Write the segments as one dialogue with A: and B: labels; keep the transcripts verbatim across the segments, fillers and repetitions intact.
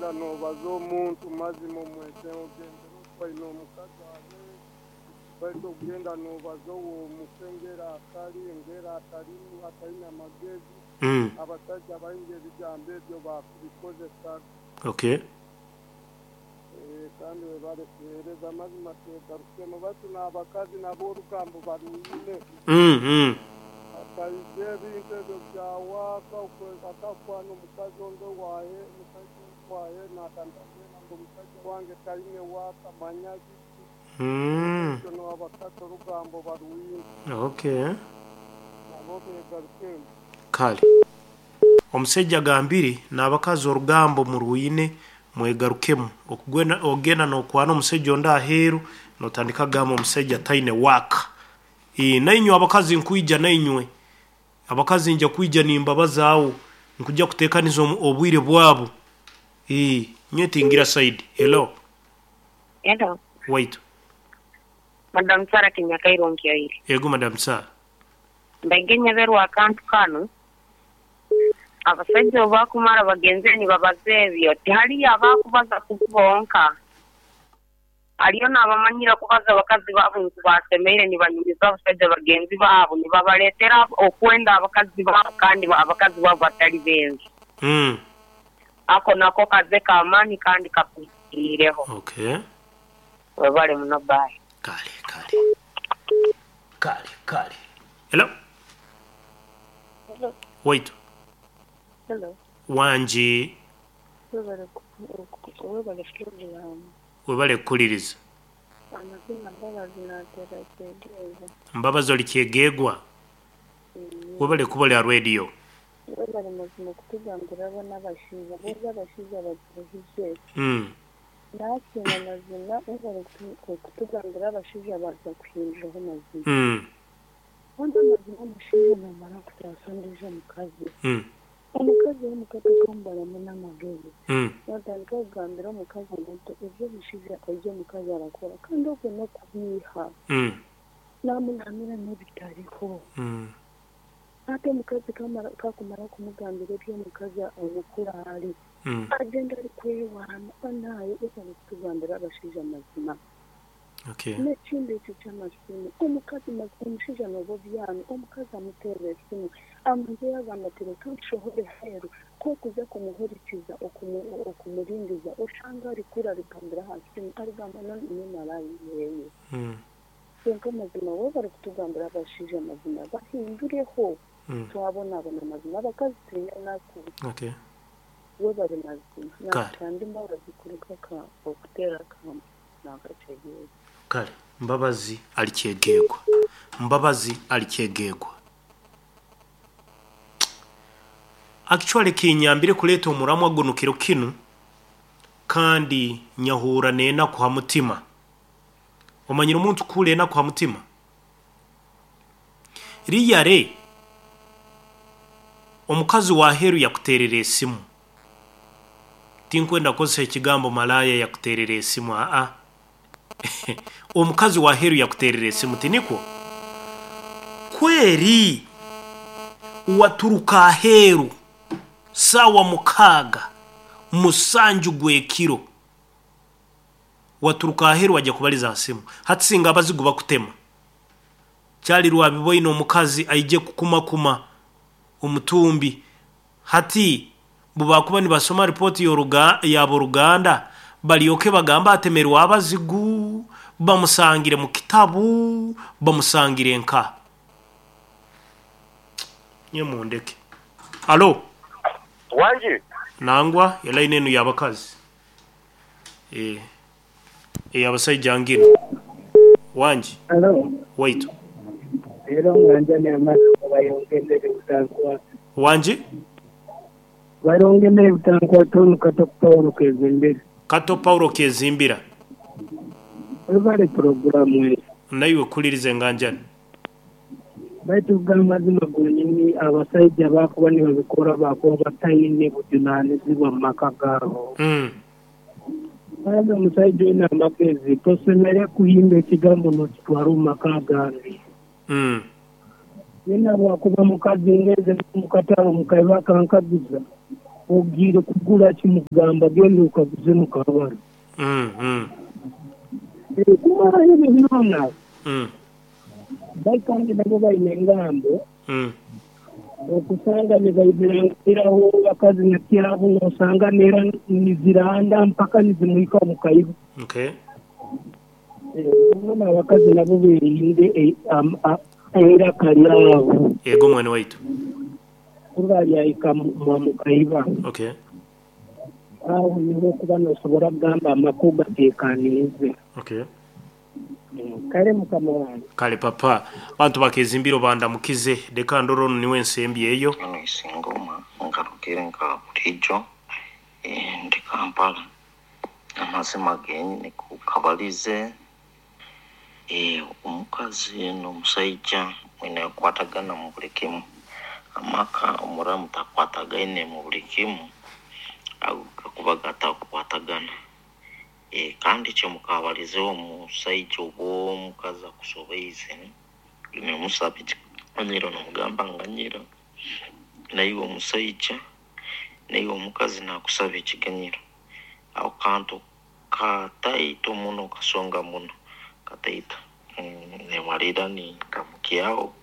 A: Okugenda n'obaza omuntu mazima omwete ogendera okwaine omukazi abe baitu okugenda n'obaza ow'omukengera akali engera atalimu ataine amagezi.
B: Mm.
A: Abasajja baingi ebigambo ebyo bakubikozesa.
B: Okay.
A: Eh, kandi webale kuheereza amazima twegarukemu batu n'abakazi nabo orugambo barwine.
B: Mm. Mm.
A: Akaija ebintu ebyo byawaka akakwana omukazi onde wahe omusajja onde wahe natandika ngu omusajja wange taine waaka manya biki.
B: Mm.
A: Ekyo n'abakazi orugambo barwine.
B: Okay.
A: Nabo begarukemu.
B: Kale omusajja agambire n'abakazi orugambo murwine mwegarukemu okugwena ogenda n'okwana omusajja ondi aheeru notandika kugamba omusajja taine waaka. Ee, nainywe abakazi nkwija nainywe abakazi nja kwija nimbabazaawo nkujja kuteekaniza omu- obwire bwabo. Ee, nywe tingira side. Hello.
C: Hello.
B: Wait.
C: Madam Sara Kinyakairo Nkyairi.
B: Ego Madam Sara.
C: Ndaigenya berwa akantu kano. Abasajja obakumara bagenze nibabaza ebyo tihaliyo abakubaza kubonka. Haliyo n'abamanyira kubaza abakazi baabo ngu basemeire nibanyumiza abasajja bagenzi baabo nibabaleetera okwenda abakazi baabo kandi abakazi baabo batali benzi.
B: Mm.
C: Ako nako kaze k'amaani kandi kakuhiireho.
B: Okay.
C: Webale muno, bye.
B: Kale kale kale kale. Hello.
D: Hello.
B: Wait.
D: Hello.
B: Wangi.
D: Webale ku- webale puroguramu.
B: Webale kukuliriza.
D: Amazima Mbabazi naatera kyegeeza.
B: Mbabazi oli kyegeegwa. Webale kuba lya radio.
D: Webale mazima okutugambira bona abashaija boza abashaija baturuhize.
B: Mm.
D: Naasiima mazima webale kutu- okutugambira abashaija baza kuhinduraho mazima.
B: Mm.
D: Kandi amazima omushaija namara kutaasa ondiijo omukazi.
B: Mm.
D: Omukazi w'omukato akamubaramu n'amagezi.
B: Mm.
D: Natandika kugambira omukazi omuto ebyo omushaija ebyo omukazi arakora kandi okwe n'okubiiha.
B: Mm.
D: Namunamira n'ebitariho.
B: Mm.
D: Ate omukazi kamara kakumara kumugambira eby'omukazi omukuru ari.
B: Mm.
D: Agenda ari kwewaana naye webale kutugambira abashaija mazima.
B: Okay.
D: N'ekindi ekyo ky'amasimu omukazi mazi- omushaija nooba obyami omukazi amuteerera esimu amuzeyo agamba ati reka nshohore heeru kokuza kumuhurikiza okumu- okumuringiza oshanga arikura arigambira aha simu arigamba n'emarayi yeeye.
B: Mm.
D: Kwonka amazima webale kutugambira abashaija amazima bahindureho.
B: Mm.
D: Twabonabona mazima abakazi twine enaku.
B: Okay.
D: Webale mazima.
B: Kale.
D: Nakutanda Mbabazi kuruga ka okuteera akamba nakakyegeeza.
B: Kale Mbabazi ali kyegeegwa. Mbabazi ali kyegeegwa. Actually kinyambire kuleeta omuramwa guno kiro kinu kandi nyahuura n'enaku ha mutima. Omanyire omuntu kuhuura enaku ha mutima? Riyare omukazi wa heeru yakuteerera esimu. Tinkwenda kukozesa ekigambo malaaya yakuteerera esimu aa. Omukazi wa heeru yakuteerera esimu tinikwo? Kweri waturuka aheeru saawa mukaaga musanju gw'ekiro waturuka aheeru wajja kubaliza ha simu. Hati singa abazigu bakutema kyali rwabiboine omukazi aije kukumakuma omutumbi. Hati bubakuba nibasoma ripooti y'oruga- y'aboruganda balyoke bagamba atemerwa abazigu bamusangire mu kitabu bamusangire nka nye mundeke. Alo.
E: Wangi.
B: Nangwa elaini enu y'abakazi. Eh. Ey'abasajja ngino. Wangi.
F: Hello.
B: Waitu.
F: Era nganja n'amazima bayongendere butankwa.
B: Wangi.
F: Bayongendere butankwa tonu Kato Paulo Kezimbira.
B: Kato Paulo Kezimbira.
F: Webale puroguramu eyo.
B: Naiwe kuliriza enganjani.
F: Baitu amazima gonyini abasajja bakuba nibabikora bakuba bataine bujunaanizibwa mu maka gaabo.
B: Mm.
F: Kandi omusajja oine amagezi tosemere kuhimba ekigambo n'okitwara omu maka agandi.
B: Mm.
F: Yena bwakuba mukazi ngeze mukatabo mukaiba akankaguza. Ogiire kugura kimugamba genda okaguze mu kabara.
B: Mm, mm,
F: Kumara ebyo byona
B: mm,
F: baikandi nabo baine engambo
B: mm.
F: okusanga nibaibirangiraho bakazi nakyabo nosanga nera niziranda mpaka nizimuhika mukaiba.
B: Okay.
F: Bona abakazi nabo berinde eh, am- a- eiraka lyabo
B: Yego mwene waitu.
F: kuba lyahika mwa mukaiba.
B: Okay.
F: Aho niho okuba nosobora kugamba amakuru gateekaniize.
B: Okay.
F: Kale mukama wange.
B: Kale papa, bantu bakezimbiro bandamukize leka ndoro niwe nsembi eyo.
E: Eno isingoma ngarukire nka bulijjo eh, ndi Kampala amazima genyini kukabalize eh, omukazi n'omusaija mwine kukwatagana mu buli kimu amaka omuramu takwatagaine mu buli kimu ago gakuba gatakukwatagana eh, kandi kyemukabalize omusaija oba omukazi akusobeize nemusaba ekikanyiro nomugamba nganyira naiwe omusaija naiwe omukazi nakusaba ekiganyiro aho kantu kataito muno kasonga muno kataito. Mm, nemalira nintamukyaho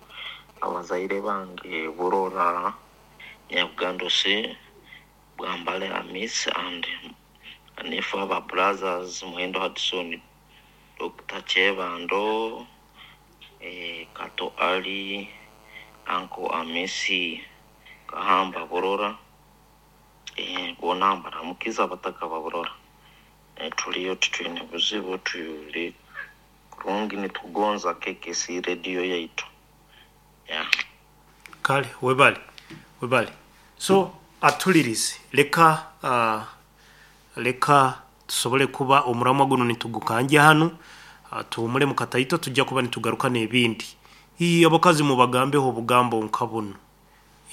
E: abazaire bange Burora Nyabugando C Bwambale Amis and anefu aba brothers Muhendo Hudson Doctor Chebando eh, Kato Ali Uncle Amisi Kahamba Burora eh, bona mbaramukiza abataka ba Burora eh, tuliyo titwine buzibu tuli kurungi nitugonza K K C radio yaitu yeah.
B: Kale webale webale. So atulirize leka uh, leka tusobole kuba omuramwa guno nitugukanja hano uh, tuhumule mu kataito tujja kuba nitugaruka n'ebindi. Ii abakazi mubagambeho obugambo nka buno.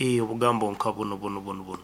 B: Ii obugambo nka buno buno buno buno.